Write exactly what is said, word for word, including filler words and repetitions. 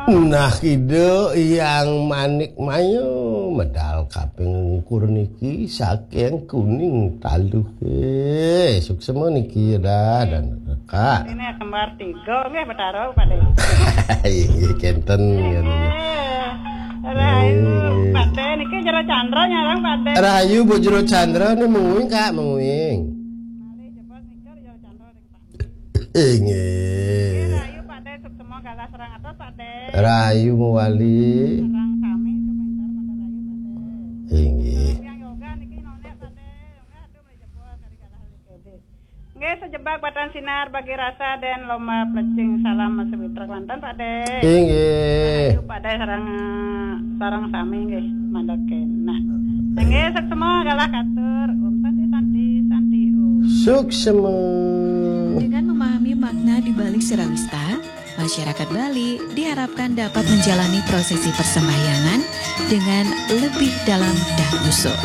Nah, kida yang manik mayu medal kaping ukur niki saking Kuning Taluh. Eh, suksema niki ya dah dan Kak. Ini kembar tiga nggih Betara Pak De. Inggih kenten ya. Eh, Rahayu Pak De niki Jero Chandra nyarang Pak De. Rahayu Bu Jero Chandra ni menguing Kak, menguing. Malih jebos nika Jero Chandra ring Pak. Inggih. Rahayu Pak De suksema galah sareng atos Pak De. Rahayu mewali. Sareng sami kementar pada rahayu Pak De. Inggih. Yang yoga niki nonek Pak De. Yoga aduh mulai jebos kali galah ring K B. Nggih, sejebak batan sinar bagi rasa dan lomba plecing salam sewitra kelantan Pak De. Inggih. Ayo Pak De sareng sareng sami nggih mandhaken. Nah. Nggih, suksema galah katur. Om Santi Santi Santi Om. Suksema. Dengan memahami makna di balik Sirawista, masyarakat Bali diharapkan dapat menjalani prosesi persembahyangan dengan lebih dalam dan khusyuk.